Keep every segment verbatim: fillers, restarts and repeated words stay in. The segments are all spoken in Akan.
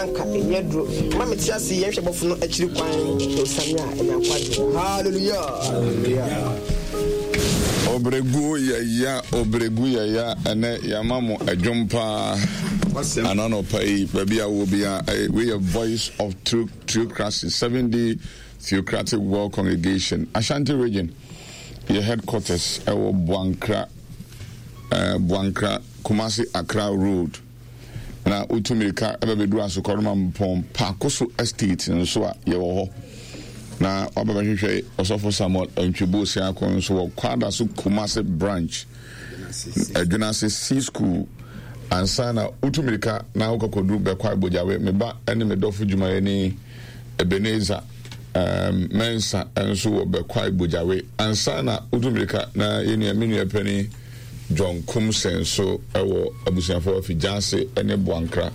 Anka ɛnyɛ duro ma mete ase yɛnhwɛ bɔfo no akyiri kwan na osiane a ɛnya nkwagye. Hallelujah. Hallelujah. Obregu yɛya, obregu yɛya. Ɛnɛ yɛama mo adwom paa ananɔpa yi. Baabi a wɔ bia, wei yɛ Voice of Theocracy, Seven Day Theocratic World Congregation, Ashanti Region. Yɛ headquarters ɛwɔ Boankra, uh, Boankra, Kumasi Accra Road. Na wotu mmirika ɛbɛbɛduru Asokɔroma Mpɔn Paakoso Estate nso a, yɛwɔ hɔ. Na waba bɛhwehwɛ Ɔsɔfo Samuel Antwibo Siako nso wɔ Kwada so Kumasi Branch, Adwunase C School. Ansa na wotu mmirika na wokɔkɔduru Bɛkɔ Agbogyawe, me ba ne me dɔfo dwumayɛni Ebenezer um, Mensa nso wɔ Bɛkɔ Agbogyawe. Ansa na wotu mmirika na yɛnua, me nua pani John Kumsen nso wɔ abusuafoɔ Afigyaase ne Boankra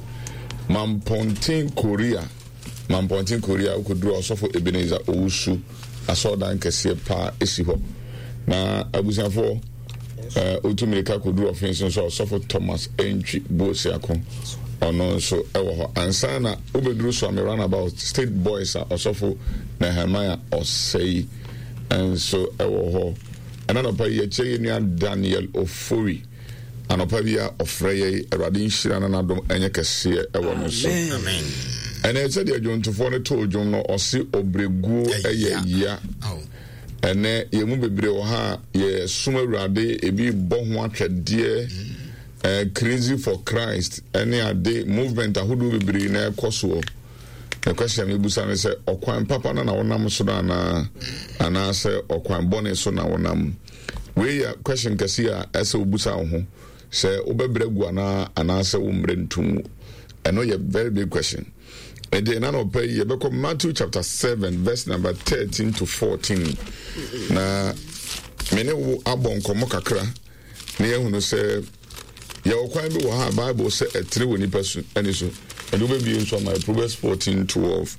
Mampɔnten Korea. Mampɔnten Korea, wokɔduru Ɔsɔfo Ebenezer Owusu asɔredan kɛseɛ paa ɛsi hɔ. Na abusuafoɔ, wotu mmirika kɔduru Ɔfen so nso, Ɔsɔfo Thomas Entwi Boasiako ɔno nso ɛwɔ hɔ. Ansa na wobɛduru Suame Runabout State Boys a, Ɔsɔfo Nehemiah Ɔsɛi nso ɛwɔ hɔ. Ɛna nɔpa yi yɛkyɛ yɛ nua Daniel Ofori. Anɔpa bi a ɔfrɛ yɛ, Awurade nhyira no, n'adom ɛnyɛ kɛseɛ ɛwɔ no so. Ɛnɛ sɛdeɛ dwontofoɔ no too dwom no, ɔse ɔbrɛguo ɛyɛ ya. Ɛnɛ yɛn mu bebree wɔ ha a yɛsom Awurade, ebi bɔ ho atwɛdeɛ, ɛɛ crazy for Christ ɛne ade movement ahodoɔ bebree na ɛkɔ soɔ. Na question mi busa ne sɛ, ɔkwan papa no na wonam so no anaa anaasɛ ɔkwan bɔne so na wonam? Wei yɛ question kɛse a ɛsɛ wobusa wo ho sɛ wobɛbrɛ gu anaa anaasɛ wommerɛ ntom. Ɛno yɛ very big question. Ɛnti ɛna na ɔpɛ yi yɛbɛkɔ Matthew chapter seven verse number thirteen to fourteen, na me ne wo abɔ nkɔmmɔ kakra na yɛhunu sɛ yɛwɔ kwan bi wɔ ha a Bible sɛ ɛtere wɔ nipa so ani so. Ɛde wobɛbie nso ama Proverbs fourteen twelve.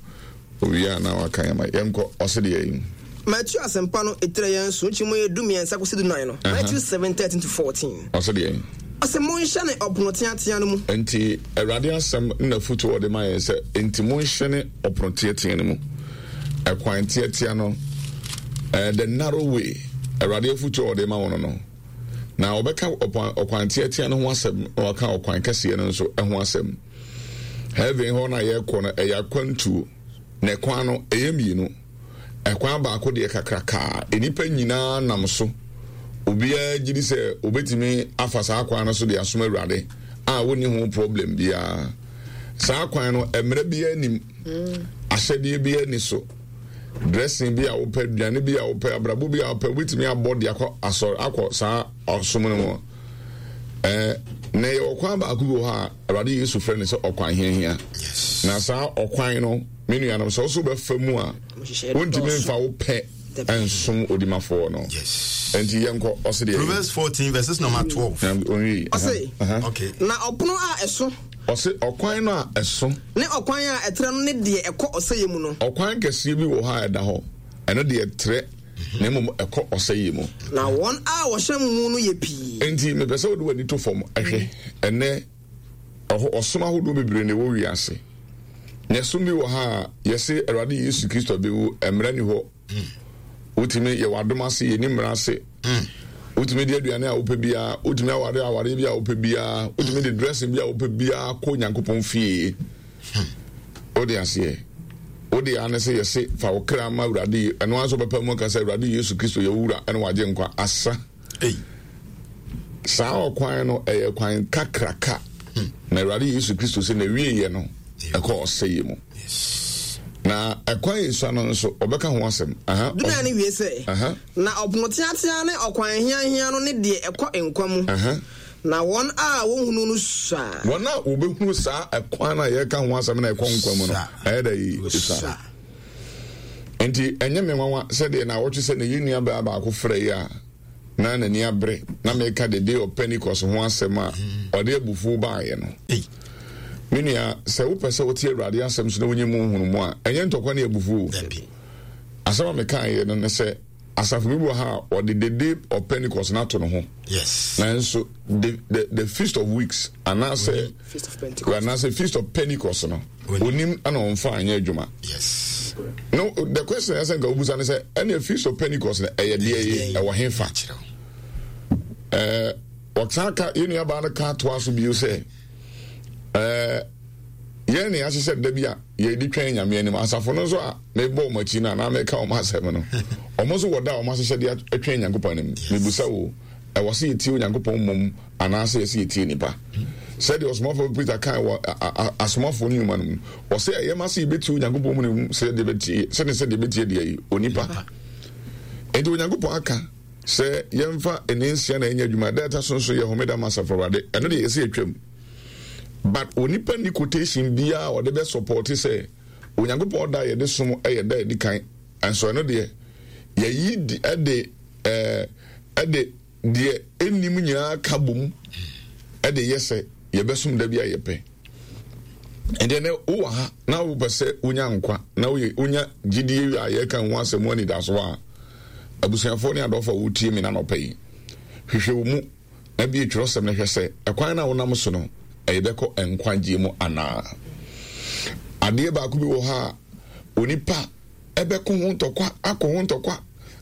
Owie a na waka yɛma yɛnkɔ. Ɔse deɛ yi Matthew Asɛmpa no ɛtirɛ yɛn so nkyi mu yɛ du mmiɛnsa kɔsi du nan no, Matthew seven thirteen to fourteen. Ɔse deɛ yi Ɔsɛ monhyɛne ɔpono teatea no mu. Nti Awurade asɛm nna foto ɔde ma yɛn sɛ nti monhyɛne ɔpono teatea no mu, ɛkwan teatea no, uh, the narrow way. Awurade afoto ɔde ma wɔn no na ɔbɛka ɔkwan teatea no ho asɛm na ɔka ɔkwan kɛseɛ no nso ho asɛm. Heaven hɔ na yɛrekɔ no, ɛyɛ akwantuo, na ɛkwan no ɛyɛ mmienu. Ɛkwan baako deɛ kakrakaa, nnipa nyinaa nam so. Obiara gye di sɛ obetumi afa saa kwan no so de asom Awurade a wonni ho problem biara. Saa kwan no, mmerɛ biara nim, ahyɛdeɛ biara ni so. Dressing bi a wopɛ, aduane bi a wopɛ, abrabɔ bi a wopɛ, wobɛtumi abɔ de akɔ asɔre, akɔ saa ɔsom no mu. Ɛɛ na yɛ ɔkwan baako bi wɔ hɔ a Awurade Yesu frɛ no sɛ ɔkwan hiahia. Na saa ɔkwan no, me nuanom, sɛ ɔso bɛfa mu a, wontumi mfa wo pɛ nsom odimafoɔ no. Nti yɛnkɔ. Ɔse deɛ Proverbs fourteen verses number twelve. Ɔse okay na ɔpono a ɛso. Ɔse ɔkwan no a ɛso ne ɔkwan a ɛtrɛ no ne deɛ ɛkɔ ɔsɛeɛ mu no. Ɔkwan kɛseɛ bi wɔ hɔ a ɛda hɔ, ɛno deɛ trɛ, na mmom ɛkɔ ɔsɛeɛ mu. Na wɔn a wɔhyɛ mu no yɛ pii. Nti mepɛ sɛ wode w'ani to fam ɛhwɛ. Ɛnɛ ɔsom ahodoɔ bebree na ɛwɔ wiase, na ɛsom bi wɔ ha a yɛse Awurade Yesu Kristo bɛwu, mmerɛ ni hɔ. Wotumi yɛ w'adom ase, yɛni mmerɛ ase. Wotumi de aduane a wopɛ biara, wotumi aware aware bi a wopɛ biara, wotumi de dressing bi a wopɛ biara kɔ Nyankopɔn fie. Wode aseɛ, wode ane sɛ yɛse fa wo kra ma Awurade. Ɛno ara nso wobɛpa mu aka sɛ Awurade Yesu Kristo yɛ wura ɛne wagye nkwa asa. Saa ɔkwan no ɛyɛ kwan kakraka, na Awurade Yesu Kristo sɛ na wieɛ no ɛkɔ ɔsɛeɛ mu. Na ɛkwan yɛ no nso ɔbɛka ho asɛm. Dunan no wie sɛ, na ɔpono teatea ne ɔkwan hiahia no ne deɛ ɛkɔ nkwa mu, na wɔn a wɔhunu no sua. Wɔn a wɔbɛhunu saa ɛkwan no a yɛka ho asɛm na ɛkɔ nkwa mu no, ɛyɛ dɛ yi sua. Nti ɛnyɛ me nwanwa sɛdeɛ na awɔtwe sɛ ne yɛ nua baa baako frɛ yi a na n'ani abere na meka the Day of Pentecost ho asɛm a ɔde abufuo baeɛ no. Me nua, sɛ wopɛ sɛ wote Awurade asɛm so na wonye mu nhunu mu a, ɛnyɛ ntɔkwa ne abufuo. Asɛm a mekaeɛ no ne sɛ Asafo bi wɔ ha a ɔde the day of Pentecost na ato ne ho. Yes. Nanso the the the feast of weeks anaasɛ Feast of Pentecost. Anaasɛ feast of Pentecost no. Onim ana ɔmfa anyɛ adwuma. Yes. No, the question ɛsɛ nka obusa ne sɛ ɛne feast of Pentecost no ɛyɛ deɛ yi ɛwɔ he fa? Ɛɛ ɔsan ka yɛn nuabaa no ka toa so bio sɛ ɛɛ yɛn ne ahyehyɛ da bi a yɛde twɛn Nyame anim. Asafo no nso a mebɔ wɔn akyi no anaa meka wɔn asɛm no, wɔn nso wɔ da a wɔn ahyehyɛ de atwɛn Nyankopɔn anim. Mebusa wo, ɛwɔ sɛ yɛtie Onyankopɔn mmom anaasɛ yɛsɛ yɛtie nipa? Sɛdeɛ ɔsomafoɔ Peter kan wɔ asomafoɔ no nnwuma no mu, ɔsɛ ɛyɛ ma sɛ yɛbɛtie Onyankopɔn mu no sɛdeɛ bɛtie sɛne sɛdeɛ bɛtie deɛ yi onipa. Enti Onyankopɔn aka sɛ yɛmfa ɛne nsia na ɛnyɛ adwuma, da ɛta so nso yɛ homeda ma asafo Awurade. Ɛno deɛ yɛsɛ yɛtwam. But onipa ni quotation biara ɔde bɛ support sɛ Onyankopɔn da yɛde som ɛyɛ da yɛdi kan. Ɛnso ɛno deɛ yɛyi di ɛde ɛɛ ɛde deɛ enim nyinaa ka bom ɛde yɛ sɛ yɛbɛsom da bi a yɛpɛ. Ɛdeɛ ne wowɔ ha na wopɛ sɛ wonya nkwa na woyɛ wonya gyidie a yɛka ho asɛm anidaso a, abusuafoɔ ne adɔfo a wotie me na nɔpɛ yi, hwehwɛ wo mu na bie twerɛsɛm no hwɛ sɛ ɛkwan na wonam so no ɛyɛ bɛkɔ nkwagyeɛ mu anaa. Adeɛ baako bi wɔ ha a onipa ɛbɛko ho ntɔkwa akɔ ho ntɔkwa.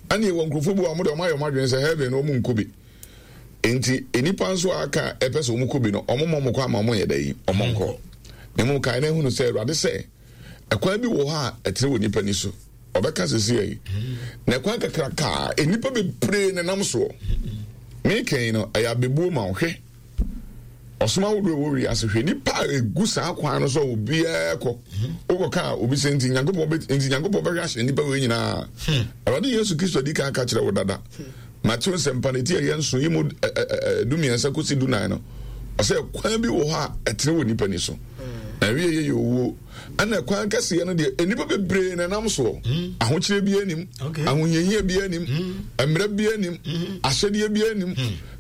Ɛne ɛwɔ nkurɔfoɔ bi wɔ a wɔde wɔn ayɛ wɔn adwene sɛ heaven no wɔn nkɔ bi. Enti nnipa nso a aka a ɛpɛ sɛ wɔn kɔ bi no, wɔn mmɔ wɔn kɔ ama wɔn yɛ dɛ yi, wɔn nkɔ. Na mmom kae na ehunu sɛ Awurade sɛ ɛkwan bi wɔ hɔ a ɛtene wɔ nipa ni so. Ɔbɛka sisi yi. Na ɛkwan kakraka nnipa bebree na nam soɔ. Meka no ɛyɛ abebuo ma ɔhwɛ. Ɔsom ahodoɔ ɛwɔ wiase hwɛ nipa a egu saa kwan no so a obiara kɔ. Wokɔ ka obi sɛ nti Nyankopɔn bɛ nti Nyankopɔn bɛhwɛ ahyɛ nipa wei nyinaa. Awurade Yesu Kristo adi kan ka kyerɛ wo dada. Mateo nsɛmpa no ti a ɛyɛ nson yi mu du mmiɛnsa kɔsi du nan no, ɔsɛ kwan bi wɔ hɔ a ɛtene wɔ nipa ni so. Na wie yɛ yɛ owuo. Ɛna kwan kɛseɛ no deɛ nnipa bebree na ɛnam soɔ. Ahokyerɛ bi anim, ahohiahia bi anim, mmerɛ bi anim, ahyɛdeɛ bi anim.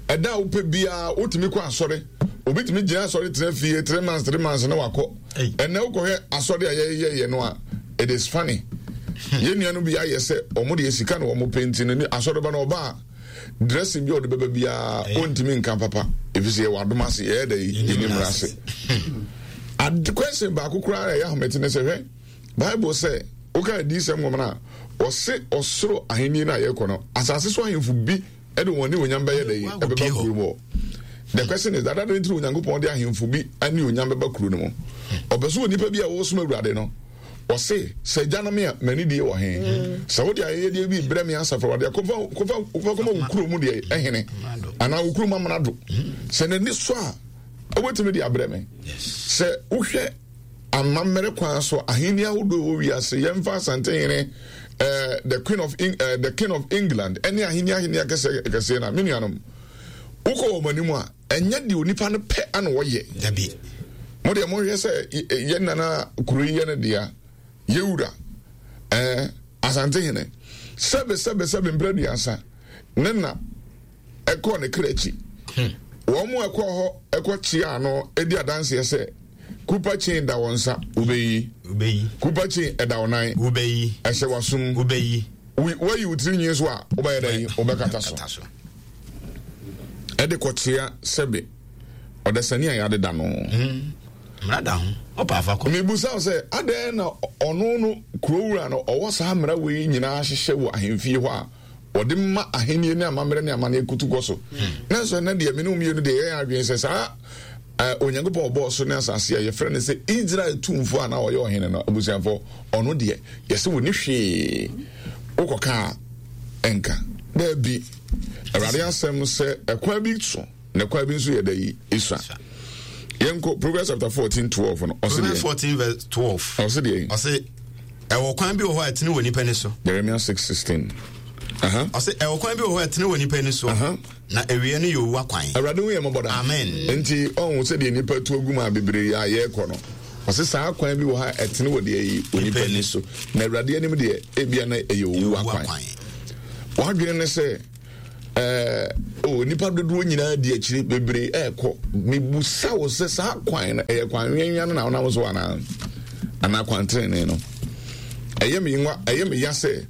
Ɛda a wopɛ biara wotumi kɔ asɔre. Obi tumi gyina asɔre tena fie three months three months na wakɔ. Ɛnna wokɔhwɛ asɔre a yɛyɛyɛ no a, it is funny. Yɛn nua no bi ayɛ sɛ ɔmo deɛ sika na ɔmo pɛ nti no ne asɔre ba na ɔba a dressing bi a ɔde bɛba biara ɔntumi nka papa efisɛ yɛwɔ adom ase yɛyɛ dɛ yi yɛni mmara ase. Ade question baako koraa ɛyɛ ahomete ne sɛ hwɛ Bible sɛ woka adiyisɛm nwoma no a ɔse ɔsoro ahenni no a yɛkɔ no asase so ahemfo bi ɛde wɔn ne onyam bɛyɛ dɛ yi ɛbɛba kuro mu. The question is that adɛn nti na Onyankopɔn de ahemfo bi ne onyam bɛba kuro no mu? Ɔpɛ so wɔ nipa bi a wɔsom Awurade no. Ɔse sɛ gya no me a m'ani die wɔ he? Sɛ wode ayɛyɛdeɛ bi brɛ me asafo Awurade a kɔfa kɔfa kɔfa kɔma wo kuro mu deɛ ɛhene anaa wo kuro mu amena do. Sɛ n'ani so a wobɛtumi de abrɛ me. Sɛ wohwɛ amammerɛ kwan so ahenni ahodoɔ wɔ wiase yɛmfa Asantehene eh, the queen of eh, the king of England ɛne ahenni ahenni akɛseɛ akɛseɛ na me nuanom wokɔ wɔn anim a ɛnyɛ deɛ onipa no pɛ ana wɔyɛ. Dabi. Mo deɛ mohwɛ sɛ yɛn nana kuro yi yɛ no dea yɛwura eh, Asantehene sɛbe sɛbe sɛbe mprɛ aduasa ne na ɛkɔɔ ne kra akyi. Wɔn mu ɛkɔɔ hɔ ɛkɔ kyea no edi adanseɛ sɛ kupa chain da wɔn nsa wobɛyi. Wobɛyi. Kupa chain ɛda wɔn nan. Wobɛyi. Ɛhyɛ w'asom. Wobɛyi. Wayi wo tiri nwi so a wobɛyɛ dɛ yi wobɛkata so. Ɛde kɔkyea sɛbe ɔdasani a yɛadeda no. Mmara da ho. Ɔpa afa kɔ. Mebusa wo sɛ adɛn na ɔno no kurowura no ɔwɔ saa mmara wei nyinaa hyehyɛ wɔ ahemfie hɔ a ɔde ma ahenni ne amammerɛ ne amanneɛ kutu kɔ so. Nanso ɛnɛ deɛ me ne wo mmienu deɛ yɛyɛ adwene sɛ saa Onyankopɔn ɔbɔɔ so ne asase a yɛfrɛ no sɛ Israel tumfoɔ a na ɔyɛ ɔhene no abusuafoɔ ɔno deɛ yɛsɛ wɔ ne hwee wokɔka a ɛnka daabi. Awurade asɛm sɛ ɛkwan bi so na ɛkwan bi nso yɛ dɛ yi esua. Yɛnkɔ Proverbs chapter fourteen twelve no. Ɔse Proverbs fourteen verse twelve. Ɔse deɛ. Ɔse ɛwɔ kwan bi wɔ hɔ a ɛtene wɔ nipa ni so. Jeremiah six sixteen. Ɔse ɛwɔ kwan bi wɔ hɔ a ɛtene wɔ nipa ni so. Na ewie no yɛ owu akwan. Awurade hu yɛ mmɔbɔ da. Amen. Nti ɔhu sɛdeɛ nipa tu agu mu a bebree a yɛrekɔ no. Ɔse saa kwan bi wɔ ha ɛtene wɔ deɛ yi onipa ni so. Na Awurade anim deɛ ebia na ɛyɛ owu akwan. Wadwene ne sɛ ɛɛ o nipa dodoɔ nyinaa di akyire bebree ɛɛkɔ. Mebusa wo sɛ saa kwan no ɛyɛ kwan nwenwea no na wonam so anaa anaa kwan tenenee no. Ɛyɛ me nwa ɛyɛ me ya sɛ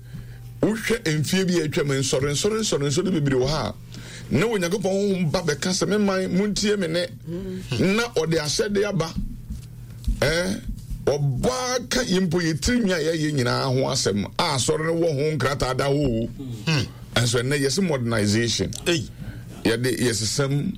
Wohwɛ mfie bi a atwam nsɔre nsɔre nsɔre nsɔre bebree wɔ ha a na Onyankopɔn honhom ba bɛka sɛ me man montie me ne na ɔde ahyɛde aba. Eh, ɔbaa ka yɛ mpo yɛ tiri nwi a yɛyɛ nyinaa ho asɛm a asɔre no wɔ ho nkrataa da hɔ. Ɛnso ɛnnɛ yɛse modernization. Yɛde yɛsesam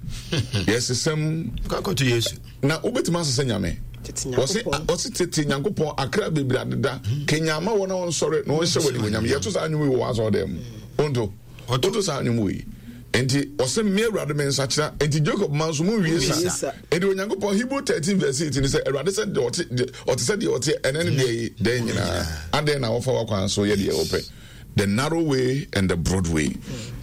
yɛsesam. Kakɔto Yesu. Na wobɛtumi asesa Nyame. Wɔse wɔse tete Nyankopɔn akra bebree adeda. Kenya ama wɔn a wɔnsɔre na wɔnhyɛ wɔn animuonyam. Yɛto saa nnwom yi wɔ w'asɔre dɛm mu. Wonto. Wonto saa nnwom yi. Enti ɔse me Awurade me nsakyera. Enti Jacob ma nso monwie sa. Enti Onyankopɔn Hebrew thirteen verse eight ni sɛ Awurade sɛ deɛ ɔte ɔte sɛ deɛ ɔteɛ ɛnɛ ne deɛ yi dɛn nyinaa. Adɛn na wɔfa w'akwan so yɛ deɛ wɔpɛ. The narrow way and the broad way.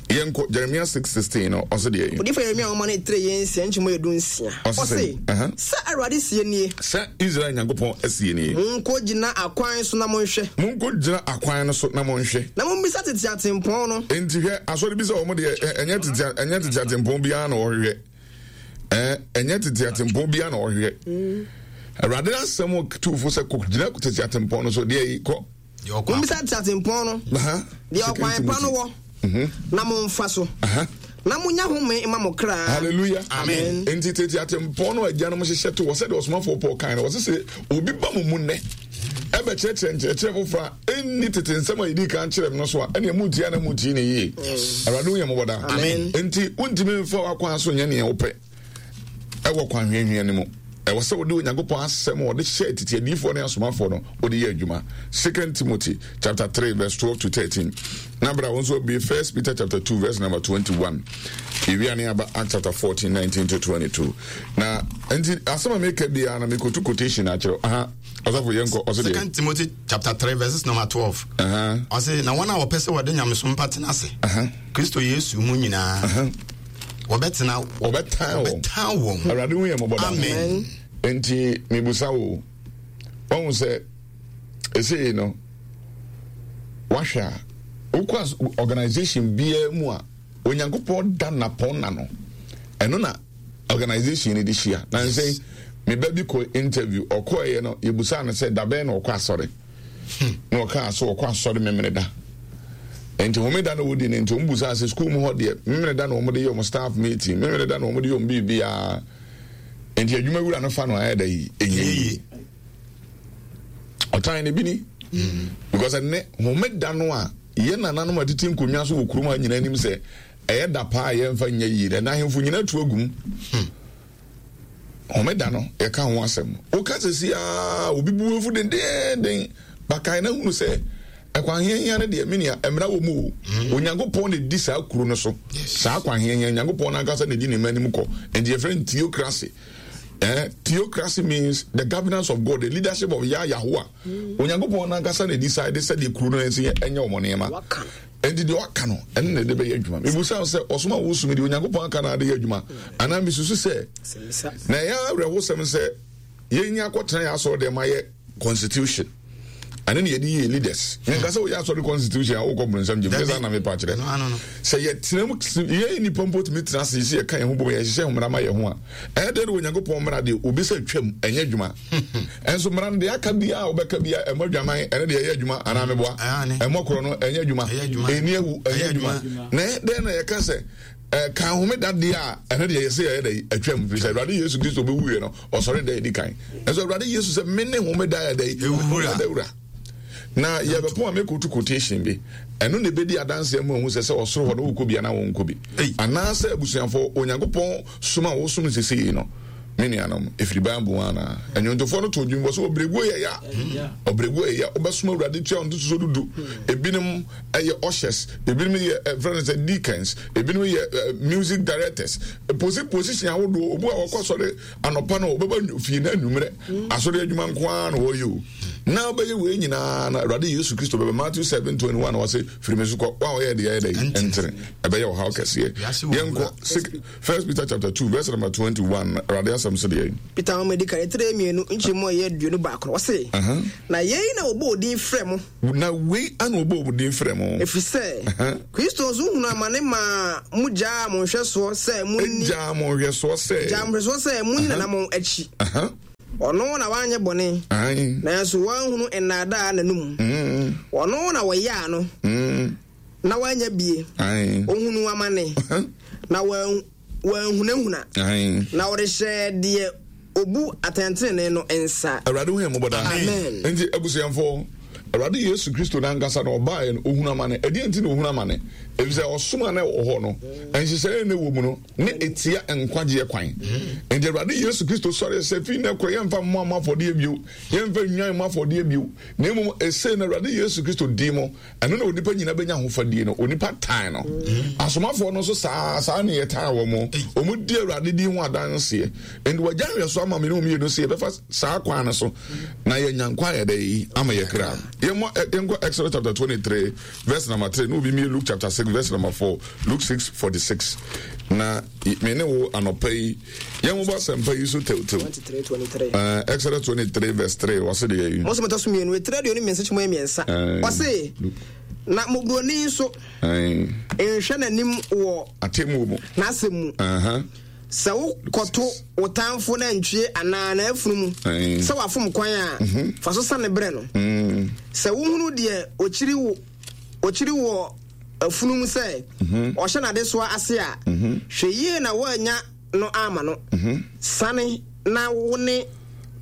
Yɛnkɔ Jeremiah six sixteen no ɔse deɛ yi. Odiyifoɔ Yeremia nwoma no etire yɛ nsia nkyɛmu yɛ du nsia. Ɔse, sɛ Awurade sie nie. Sɛ Israel Nyankopɔn sie nie. Monkɔ gyina akwan so na monhwɛ. Monkɔ gyina akwan no so na monhwɛ. Na mommisa tete atempɔn no. Enti hwɛ, asɔre bi sɛ wɔn deɛ ɛnyɛ tete ɛnyɛ tete atempɔn biara na wɔhwehwɛ. Ɛɛ ɛnyɛ tete atempɔn biara na wɔhwehwɛ. Awurade asɛm tuufo sɛ kɔ gyina tete atempɔn no so deɛ yi kɔ. Mommisa teatempɔn no deɛ ɔkwan pa no wɔ, mhm. na momfa so, na monya home ma mo kra. Hallelujah. Amen. Enti tete atempɔn no agyanom hyehyɛ to wɔ sɛdeɛ ɔsomafoɔ Paul kan no, wɔse sɛ obi ba mo mu nnɛ ɛbɛkyerɛkyerɛ nkyerɛkyerɛ foforɔ a ɛnni tete nsɛm a yɛdii kan kyerɛ no so a, ɛneɛ montie na montie ne yie. Awurade wo yɛ mmɔbɔ daa. Enti wontumi mfa w'akwan so nyɛ neɛ wopɛ. Ɛwɔ kwan hwiahwia no mu. Ɛwɔ sɛ wode Onyankopɔn asɛm a ɔde hyɛɛ tete adiyifoɔ ne asomafoɔ no, wode yɛ adwuma. Second Timothy chapter three verse twelve to thirteen. Na bra wo nso abue First Peter chapter two verse number twenty-one. Yɛwia ne aba Acts chapter fourteen nineteen to twenty-two. Na nti asɛm a meka biara na mekotu quotation akyerɛ. Aha. Ɔsɔfo yɛnkɔ ɔsɛ deɛ. Second Timothy chapter three verses number twelve. Ɔsɛ na wɔn a wɔpɛ sɛ wɔde nyamesom pa tena ase. Kristo Yesu mu nyinaa. Wɔbɛtena wɔbɛtan wɔn. Wɔbɛtan wɔn. Awurade hu yɛn mmɔbɔ da. Amen. Nti mibusa wo, wɔn sɛ esei no wahwɛ a wokɔ organization biara mu a Onyankopɔn da napɔn na no ɛno na organization no de hyia. Na nsɛn me ba bi kɔ interview ɔkɔɛyɛ no yɛbusaa no sɛ dabɛn na ɔkɔ asɔre. Na ɔkaa so ɔkɔ asɔre Memeneda. Nti homeda na wɔdi no nti wɔn busaa sɛ sukuu mu hɔ deɛ Memeneda na wɔn de yɛ wɔn staff meeting, Memeneda na wɔn de yɛ wɔn biribiara. Nti adwuma wura no fa no ayɛ da yi ɛnyɛ yie. Ɔtan ne bi ni. Because ɛnɛ homeda no a yɛn nananom atete nkonnwa so wɔ kurom ha nyinaa anim sɛ ɛyɛ da paa a yɛmfa nyɛ yie na ahemfo nyinaa tu agum. Homeda no yɛka ho asɛm. Woka sɛ si a obi bu afu dendeenden bakae na hunu sɛ ɛkwan hiahia no deɛ menua mmara wɔ mu o. Mm. Onyankopɔn na ɛdi saa kuro no so. Saa kwan hiahia Onyankopɔn no ankasa na ɛdi ne mma anim kɔ. Nti yɛfrɛ no theocracy. Eh, theocracy means the governance of God, the leadership of Yah Yahuwah. Mm. Onyankopɔn no ankasa na decide sɛdeɛ kuro no ɛnsi ɛnyɛ wɔn nneɛma. Enti deɛ ɔaka no, ɛno na ɛde bɛyɛ adwuma. Mebisa wo sɛ, ɔsom a wosom deɛ Onyankopɔn aka na ade yɛ adwuma? Anaa mesusu sɛ, na ɛyɛ awerɛhosɛm sɛ yɛnya akɔtena yɛ asɔre dɛm ayɛ constitution ɛne ne yɛde yɛ leaders. Menka sɛ woyɛ asɔre constitution a wokɔ bronsam gyem, nyɛ saa na mepa kyerɛ. Sɛ yɛtena mu, yɛn nnipa mpo tumi tena ase sɛ yɛka yɛn ho bom, yɛhyehyɛ mmara ma yɛn ho a, ɛyɛ dɛn na Onyankopɔn mmara deɛ obi sɛ twam ɛnyɛ adwuma. Ɛnso mmara no deɛ aka biara a wobɛka biara ɛmmɔ adwaman ɛne deɛ ɛyɛ adwuma anaa meboa ɛmmɔ korɔ no ɛnyɛ adwuma ɛni awu ɛnyɛ adwuma. Na ɛyɛ dɛn na yɛka sɛ ɛka homeda deɛ a ɛno deɛ yɛsɛ yɛyɛ dɛ atwam firi sɛ Awurade Yesu Kristo bɛwuiɛ no ɔsɔre da ɛdi kan. Ɛnso Awurade Yesu sɛ mene homeda yɛ dɛ homeda wura. Na yɛbɛpɔn a mɛkɔtu quotation bi ɛno na ɛbɛdi adanseɛ ma ɔhu sɛ sɛ ɔsoro hɔ no wokɔ bi anaa wɔnkɔ bi anaasɛ abusuafoɔ Onyankopɔn som a wosom no sesei no me nuanom ɛfiri Bible mu anaa. Nnwontofoɔ no to dwom wɔ sɛ ɔbrɛguo yɛ ya ɔbrɛguo yɛ ya wobɛsom Awurade tua wo ntotosoɔ dudu. Ebinom ɛyɛ ushers, ebinom yɛ ɛfrɛ no sɛ deacons, ebinom yɛ music directors, posi position ahodoɔ. Obu a wɔkɔ asɔre anɔpa no ɔbɛba fie na anwummerɛ asɔre adwuma nko ara na wɔyɛ o. Na wobɛyɛ wei nyinaa na Awurade Yesu Kristo bɛbɛ Matthew seven twenty one wɔse firi me so kɔ wa ɔyɛ deɛ ɛyɛ dɛ ɛntere ɛbɛyɛ ɔhaw kɛseɛ. Yɛnkɔ First Peter chapter two verse number twenty one Awurade asɛm so deɛ. Peter nwoma di kan etire mmienu nkyɛmu a ɛyɛ aduonu baako no ɔse na yei na wɔbɔ odin frɛ mo. Na wei ana wɔbɔ odin frɛ mo. Ɛfiri sɛ Kristo nso hunu amane maa mo gyaa mo nhwɛsoɔ sɛ mo ni. Gyaa mo nhwɛsoɔ sɛ. Gyaa mo nhwɛsoɔ sɛ mo ni nanammɔn akyi. Ɔno na wanyɛ bɔne. Nanso wanhunu nnaadaa n'anum. Ɔno na wɔyaa no. Na wanya bie. Ohunu amane. Na wanhunahuna. Na ɔrehyɛ deɛ obu atɛntenenee no nsa. Awurade hu yɛn mmɔbɔ daa. Amen. Nti abusuafoɔ, Awurade Yesu Kristo n'ankasa na ɔbaeɛ no, ohunu amane. Ɛdeɛn nti na ohunu amane? Efisɛ ɔsom a na ɛwɔ hɔ no, nhyehyɛeɛ na ɛwɔ mu no, ne etia nkwagyeɛ kwan. Nti Awurade Yesu Kristo sɔre sɛ fii na ɛkɔ yɛmfa mmoa mmɔ afɔdeɛ bio, yɛmfa nnwan mmɔ afɔdeɛ bio, na mmom ɛsei na Awurade Yesu Kristo di mu. Ɛno na onipa nyina bɛnya ahofadie no. Onipa tan no. Asomafoɔ no nso saa saa ne yɛtan wɔ mo. Wɔn di Awurade din ho adanseɛ. Nti wɔagya nhwɛso ama me ne wɔn mmienu sɛ yɛbɛfa saa kwan no so na yɛnya nkwa yɛ dɛ yi ama yɛ kra. Yɛmmɔ yɛnkɔ Exodus chapter twenty three verse number three na obi mie Luke chapter six verse number four, Luke six forty six. Na me ne wo anɔpa yi yɛn mo bɔ asɛmpa yi so tewtew. Uh, Exodus twenty three verse three wɔsi deɛ yi. Mose mɛtɔ so mmienu etire aduonu mmiɛnsa kyɛmu mmiɛnsa. Wɔsi na mmɔborɔni nso nhwɛ n'anim wɔ atemmuo mu n'asɛm mu. Sɛ wokɔto wo tamfo nantwie anaa n'afunumu sɛ wafom kwan a, fa so sane brɛ no. Sɛ wohunu deɛ ɔkyiri wo ɔkyiri wɔ afunumu sɛ ɔhyɛ n'adesoa ase a, hwɛ yie na woanya no ama no. Sane na wo ne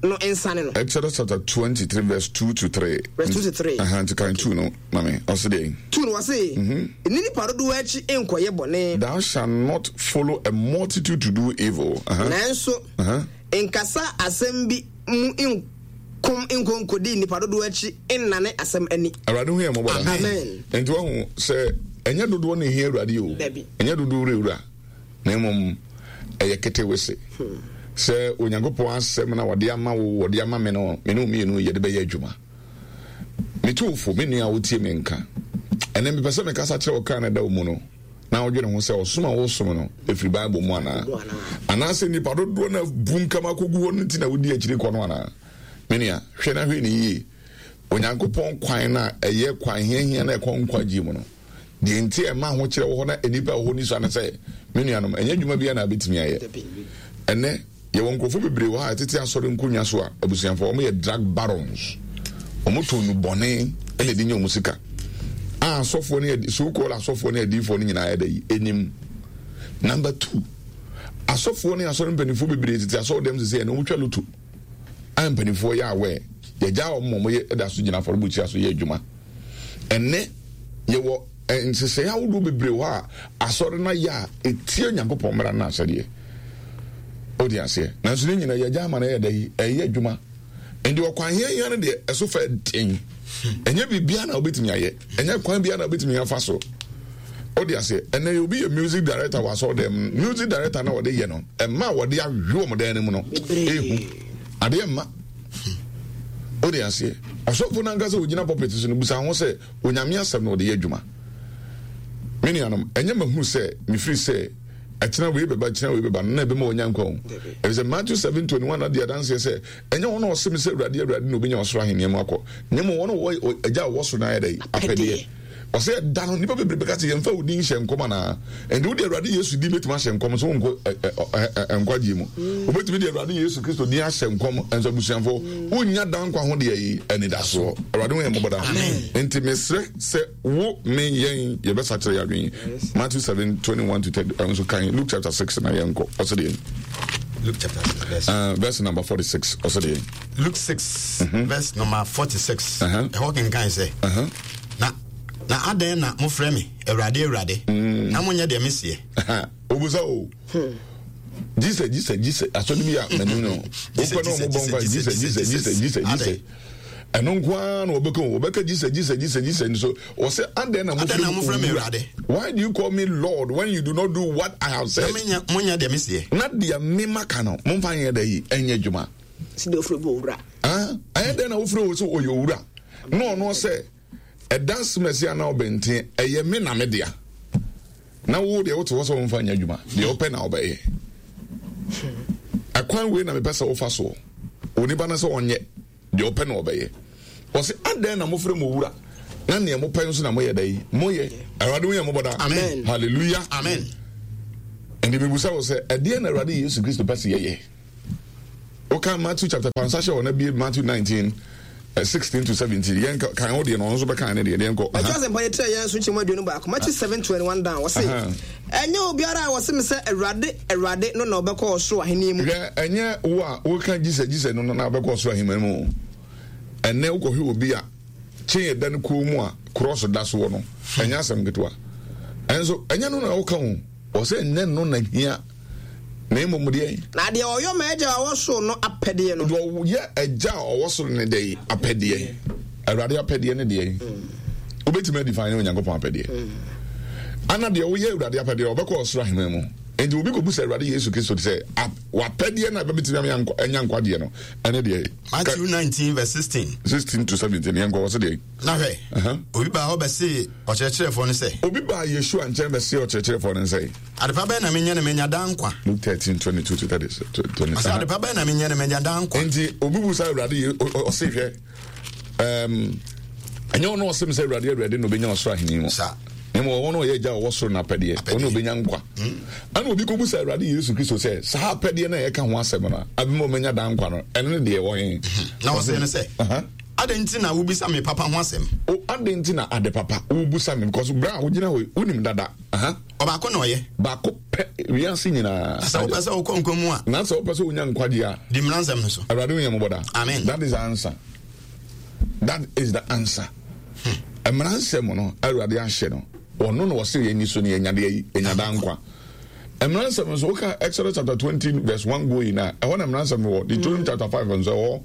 no nsane no. Exodus chapter twenty-three verse two to three. Verse two to three. Uh-huh, nti kan two no, mami, ɔsi deɛ. Two no ɔsi, nni nipa dodoɔ akyi nkɔyɛ bɔne. Thou shalt not follow a multitude to do evil. Uh-huh. Nanso, uh-huh. nkasa asɛm bi mu nkom nkonkodi nipa dodoɔ akyi nnane asɛm ani. Awurade hu yɛn mmɔbɔ da. Amen. Nti wahu sɛ ɛnyɛ dodoɔ na ehia Awurade o. Dabi. Ɛnyɛ dodoɔ wura wura. Na mmom ɛyɛ ketewese. Sɛ Onyankopɔn asɛm na wɔde ama wo, wɔde ama me no, me ne wo mmienu yɛde bɛyɛ adwuma. Metu wo fo, me nua a wotie me nka. Ɛnɛ mepɛ sɛ mekasa kyerɛ wo kra na ɛda wo mu no, na wodwene ho sɛ ɔsom a wosom no ɛfiri Bible mu anaa? Anaasɛ nnipa dodoɔ na bu nkam akɔgu hɔ no nti na wodi akyiri kɔ no anaa? Me nua, hwɛ na hwɛ ne yie. Onyankopɔn kwan no a ɛyɛ kwan hiahia na ɛkɔ nkwagye mu no, deɛ nti a ɛma ahokyerɛ wɔ hɔ na nnipa wɔ hɔ ni sua ne sɛ, me nuanom, ɛnyɛ adwuma biara na abɛtumi ayɛ. Ɛnɛ, yɛwɔ nkurɔfoɔ bebree wɔ ha a ɛtete asɔre nkonnwa so a abusuafoɔ wɔn yɛ drug barons. Wɔn tɔn nnubɔne ɛna ɛde nya wɔn sika. A asɔfoɔ ne so called asɔfoɔ ne adiifoɔ no nyinaa yɛ dɛ yi anim. Number two, asɔfoɔ ne asɔre mpanimfoɔ bebree tete asɔre dɛm sese ɛna wɔn twa loto. A mpanimfoɔ yɛ awɛ yɛgya wɔn ma wɔn yɛ ɛda so gyina afɔrebukyia so yɛ adwuma. Ɛnɛ yɛwɔ nhyehyɛeɛ ahodoɔ bebree hɔ a asɔre no ayɛ a ɛtie Nyankopɔn mmara no ahyɛdeɛ. Wode aseɛ. Nanso ne nyinaa yɛgya ama no ɛyɛ dɛ yi ɛyɛ adwuma. Nti ɔkwan hiahia no deɛ ɛso fɛ den. Ɛnyɛ biribiara na wobɛtumi ayɛ. Ɛnyɛ kwan biara na wobɛtumi afa so. Wode aseɛ. Ɛnɛ obi yɛ music director wɔ asɔre dɛm. Music director na wɔde yɛ no ɛma a wɔde awe wɔn dan no mu no ehu. Adeɛ mma. Wode aseɛ. Ɔsɔfo no ankasa ogyina pulpit so no busa ho sɛ Onyame asɛm na ɔde yɛ adwuma. Me nuanom, ɛnyɛ mahunu sɛ mefiri sɛ ɛkyena wei bɛba kyena wei bɛba no na ɛbɛma wɔnya nkwa o. Ɛfiri sɛ Matthew seven twenty one adi adanseɛ sɛ ɛnyɛ wɔn a ɔse me sɛ Awurade Awurade na obɛnya ɔsoro ahenni mu akɔ, na mmom wɔn a wɔwɔ agya a ɔwɔ soro no ayɛ dɛ apɛdeɛ. Ɔsɛ ɛda no nnipa bebree bɛka sɛ yɛmfa wo din hyɛ nkɔm anaa? Ɛnti wode Awurade Yesu din bɛtumi ahyɛ nkɔm so wonkɔ nkwagyeɛ mu. Wobɛtumi de Awurade Yesu Kristo din ahyɛ nkɔm nso abusuafoɔ wonnya da nkwa ho deɛ yi anidasoɔ. Awurade ho yɛ mmɔbɔ daa. Nti mesrɛ sɛ wo me yɛn yɛbɛsakyerɛ yɛ adwene. Matthew seven twenty one to thirty nso kan Luke chapter six na yɛnkɔ ɔsɛ deɛ. Luke chapter six verse, uh, verse number forty six ɔsɛ deɛ. Luke six mm-hmm. verse number forty six. Ɛhɔ kenkan sɛ. Na na adɛn na mofrɛ me Awurade Awurade na monyɛ deɛ meseɛ? Obusa o. Jesus Jesus Jesus asɔre bi a m'anim no. Wokɔ na ɔmo bɔ mpa Jesus Jesus Jesus Jesus Jesus. Ɛno nko ara na wɔbɛka o. Wɔbɛka Jesus Jesus Jesus Jesus nso wɔsɛ adɛn na mofrɛ me Awurade? Why do you call me Lord when you do not do what I have said? Na monyɛ deɛ meseɛ. Na deɛ mema ka no momfa nyɛ dɛ yi ɛnyɛ adwuma. Sɛ deɛ wofrɛ bi owura. Ɛyɛ dɛn na wofrɛ wo sɛ ɔyɛ owura? Na ɔno sɛ ɛda semɛsi anaa ɔbɛnten ɛyɛ me na me dea. Na wo deɛ wote hɔ sɛ womfa nyɛ adwuma deɛ wopɛ na wobɛyɛ. Ɛkwan wei na mepɛ sɛ wofa soɔ. Onipa no sɛ ɔnyɛ deɛ ɔpɛ na ɔbɛyɛ. Ɔsɛ adɛn na mofrɛ mo owura na nea mopɛ nso na moyɛ dɛ yi moyɛ. Awurade ho yɛ mmɔbɔ daa. Amen. Hallelujah. Amen. Ɛnti mebusa wo sɛ ɛdeɛn na Awurade Yesu Kristo pɛ sɛ yɛyɛ? Woka Matthew chapter five nsa hyɛ wɔ na bie Matthew nineteen sixteen to seventeen. Yɛn kan wo deɛ no, ɔno nso bɛkan ne deɛ, deɛ nkɔ. Matthew asɛmpa yɛ tiri yɛn nso nkyɛmu aduonu baako. Matthew seven twenty one down. Wɔse ɛnyɛ obiara a wɔse me sɛ Awurade Awurade no na ɔbɛkɔ ɔsoro ahenni mu. Hwɛ, ɛnyɛ wo a woka Jesus Jesus no na ɔbɛkɔ ɔsoro ahenni mu. Ɛnɛ wokɔhwɛ obi a kyen ɛda no kɔn mu a cross da soɔ no, ɛnyɛ asɛm ketewa. Ɛnso ɛnyɛ no na woka ho. Ɔsɛ ɛnyɛ no na hia. Na mmom deɛ. Na deɛ ɔyɔ ma agya a ɔwɔ soro no apɛdeɛ no. Deɛ ɔyɛ agya a ɔwɔ soro no deɛ apɛdeɛ. Awurade apɛdeɛ ne deɛ. Wobɛtumi adefine ne Onyankopɔn apɛdeɛ. Ana deɛ woyɛ Awurade apɛdeɛ ɔbɛkɔ ɔsoro ahemman mu. Enti obi kɔbu sɛ Awurade Yesu Kristo te sɛ wapɛdeɛ no a ɛbɛbɛtumi ama anya nkwagyeɛ no ɛne deɛ. Matthew nineteen verse sixteen. sixteen to seventeen yɛn nkɔ wɔ se deɛ. Na hwɛ, obi baa hɔ bɛsee ɔkyerɛkyerɛfoɔ no sɛ. Obi baa Yeshua nkyɛn bɛsee ɔkyerɛkyerɛfoɔ no sɛ. Adepa bɛn na menyɛ na manya daa nkwa? Luke thirteen twenty two to thirty twenty. Ɔsɛ adepa bɛn na menyɛ na manya daa nkwa? Nti obi bu sa Awurade yi ɔse hwɛ ɛm ɛnyɛ ɔno ɔsɛm sɛ Awurade Awurade na obenya ɔsoro ahenni mu. Sa. Na mmom ɔwɔ no ɔyɛ agya a ɔwɔ soro n'apɛdeɛ, ɔno obenya nkwa. Ɛna obi kɔbu sa Awurade Yesu Kristo sɛ saa apɛdeɛ no a yɛka ho asɛm no a abɛma ɔmanya daa nkwa no ɛno ne deɛ ɛwɔ he? Na ɔsɛ no sɛ adɛn nti na wobisa me papa ho asɛm? O adɛn nti na ade papa wobusa me? Because berɛ a wogyina hɔ wonim dada. Ɔbaako na ɔyɛ. Baako pɛ wiase nyinaa. Na sɛ wopɛ sɛ wokɔ nkwa mu a. Na sɛ wopɛ sɛ wonya nkwagye a. Di mmara nsɛm no so. Awurade wo yɛ mmɔbɔ da. Amen. That is the answer. That is the answer. Mmara nsɛm no Awurade ahyɛ no. Ɔno na ɔsɛ yɛn ni so no yɛnya deɛ yɛnya da nkwa. Mmara nsɛm nso woka Exodus chapter twenty verse one going na ɛhɔ na mmara nsɛm no wɔ. Deuteronomy chapter five nso ɛwɔ.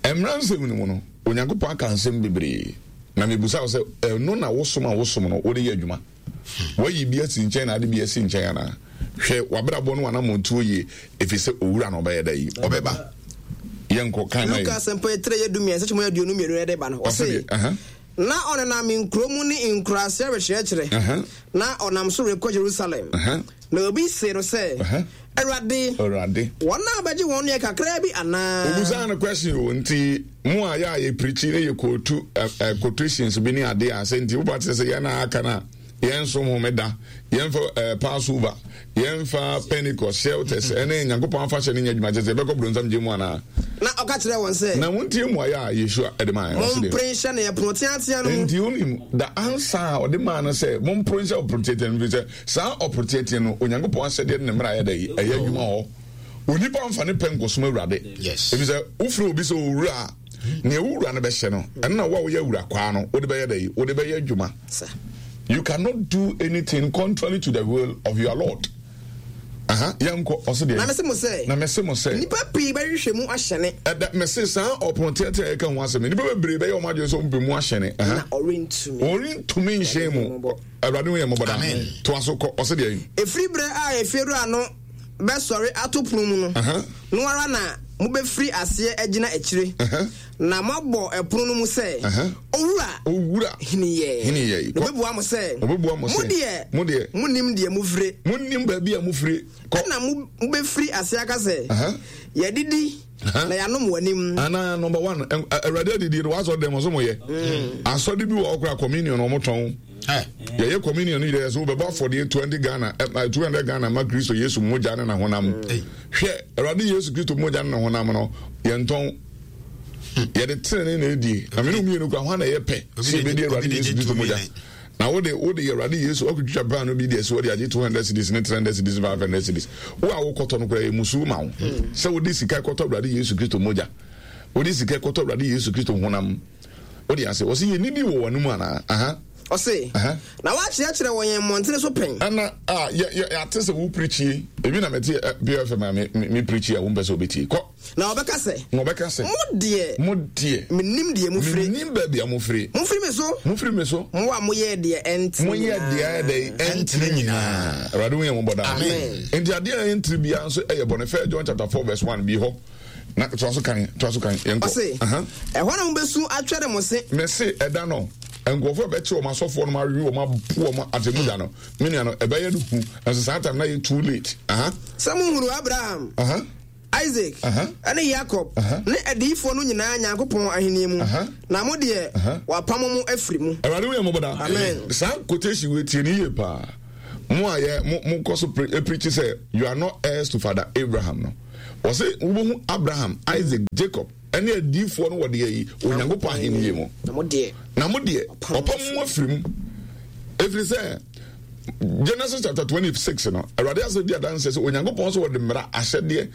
Mmara nsɛm no mu no Onyankopɔn aka nsɛm bebree. Na mebusa wo sɛ ɛno na wosom a wosom no wode yɛ adwuma. Wayi bi asi nkyɛn na ade bi asi nkyɛn anaa? Hwɛ w'abrabɔ no w'anammɔntuo yie, ɛfiri sɛ owura na ɔbɛyɛ da yi ɔbɛba. Yɛnkɔ kan ma Luka yɛ. asɛmpa etire yɛ du mmiɛnsa kyɛmu aduonu mmienu na ɛde ba no. Ɔse Ɔse deɛ, na ɔnenam nkuro mu ne nkuraase rekyerɛkyerɛ, na ɔnam so rekɔ Jerusalem. Na obi see no sɛ, Awurade, Awurade, wɔn a bɛgye wɔn no yɛ kakraa bi anaa? Obusaa no question o, nti mo a yɛ a yɛ pirikyi ne yɛ kootu ɛ quotations bi ne adeɛ a sɛ nti woba te sɛ yɛn a aka no a yɛnsom homeda, yɛmfa ɛ Passover, yɛmfa Pentecost, shelters ɛne Nyankopɔn afahyɛ ne nyɛ adwuma kyɛ sɛ yɛbɛkɔ bronsam gye mu anaa? Na ɔka kyerɛ wɔn sɛ, Na montie mmuaeɛ a Yeshua de maa yɛn. Ɔse deɛ, Mompere nhyɛ no ɛpono teatea no mu. Nti wonim the answer a ɔde maa no sɛ mompere nhyɛ ɔpono teatea no mu, firi sɛ saa ɔpono teatea no Onyankopɔn ahyɛdeɛ ne ne mmara yɛ dɛ yi ɛyɛ adwuma hɔ. Onipa mfa ne pɛ nkɔsom Awurade. Yes. Ɛfiri sɛ wofrɛ obi sɛ owura a, nea wo wura no bɛhyɛ no ɛno na wo a woyɛ awura kwaa no wode bɛyɛ dɛ yi wode bɛyɛ adwuma. You cannot do anything contrary to the will of your Lord. Aha, yɛnkɔ ɔse deɛ. Na mese mo sɛ. Na mese mo sɛ. Nnipa pii bɛhwehwɛ mu ahyɛne. Ɛda mese saa ɔpono teatea a yɛka ho asɛm nnipa bebree bɛyɛ wɔn adwene sɛ wɔn pɛ mu ahyɛne. Na ɔrentumi. Ɔrentumi nhyɛn mu. Awurade ho yɛ mmɔbɔ daa. Toa so kɔ ɔse deɛ. Ɛfiri berɛ a efiewura no bɛsɔre ato pono mu no, no ara na mobɛfiri aseɛ agyina akyire, na moabɔ ɛpono no mu sɛ, Owura, Owura, hini yɛ. Hini yɛ. Na ɔbɛbua mo sɛ, Ɔbɛbua mo sɛ, Mo deɛ, mo deɛ, monnim deɛ mofire. Monnim baabi a mofire. Kɔ. Ɛna mobɛfiri aseɛ aka sɛ, Yɛadidi na yɛanom w'anim. Ana number one, Awurade adidie no w'asɔre dɛm ɔso mo yɛ. Asɔre bi wɔ hɔ koraa communion ɔmo tɔn. Yɛyɛ communion no yɛ sɛ wobɛbɔ afɔdeɛ twenty Ghana, two hundred Ghana ma Kristo Yesu mogya ne n'ahonam. Hwɛ, Awurade Yesu Kristo mogya ne n'ahonam no yɛntɔn. Yɛde tenene na ɛdie. Na mene mmienu kora hwan na ɛyɛ pɛ sɛ yɛbɛdi Awurade Yesu Kristo mogya. Na wode wode Awurade Yesu wakɔtwitwa paano bi de asi hɔ de agye two hundred cedis ne three hundred cedis five hundred cedis. Wo a wokɔtɔ no koraa yɛ musuo ma wo sɛ wode sika kɔtɔ Awurade Yesu Kristo mogya. Wode sika kɔtɔ Awurade Yesu Kristo honam. Wode ase wɔsi yɛ nidi wɔ wɔn mu anaa? Aha. Ɔse, na wakyerɛkyerɛ wɔ yɛn mmɔntene so pɛn. Ɛna a yɛ yɛ ate sɛ wo pirikyi ebi na mɛte P F M a me me pirikyi a wɔn pɛ sɛ wɔbɛtie kɔ. Na ɔbɛka sɛ. Na ɔbɛka sɛ. Mo deɛ. Mo deɛ. Menim deɛ mofire. Menim baabi a mofire. Mofiri me so. Mofiri me so. Mo a moyɛ deɛ ɛntene nyinaa. Moyɛ deɛ ɛdɛ ɛntene nyinaa. Awurade wo yɛn mmɔbɔ daa. Amen. Nti adeɛ a ɛntene biara nso ɛyɛ bɔne. First John chapter four verse one bi hɔ. Na toa so kan, toa so kan, yɛnkɔ. Ɔse, ɛhɔ na mobɛsu atwɛre mo se. Mese ɛda no, nkurɔfoɔ a bɛkye wɔn asɔfoɔ no awe wɔn apo wɔn atemu da no, me nua no, ɛbɛyɛ no hu. Nso saa time na yɛ too late. Aha. Sɛ mohunu Abraham, Aha. Isaac, Aha. ne Yakob, Aha. ne adiyifoɔ no nyinaa Nyankopɔn ahennie mu, Aha. na mo deɛ, Aha. wɔapamo mo afiri mu. Awurade wo yɛ mmɔbɔ daa. Amen. Saa quotation wei tie ne yie paa. Mo a yɛ mo mo kɔ so preach sɛ you are not heirs to Father Abraham no. Wɔse wobɛhu Abraham, Isaac, Jacob ɛne adiyifoɔ no wɔ deɛ yi Onyankopɔn ahennie mu. Na mo deɛ, na mo deɛ ɔpam mo afiri mu. Ɛfiri sɛ Genesis chapter twenty-six no, Awurade asɛm di adanseɛ sɛ Onyankopɔn sɛ wɔde mmara ahyɛdeɛ ɛne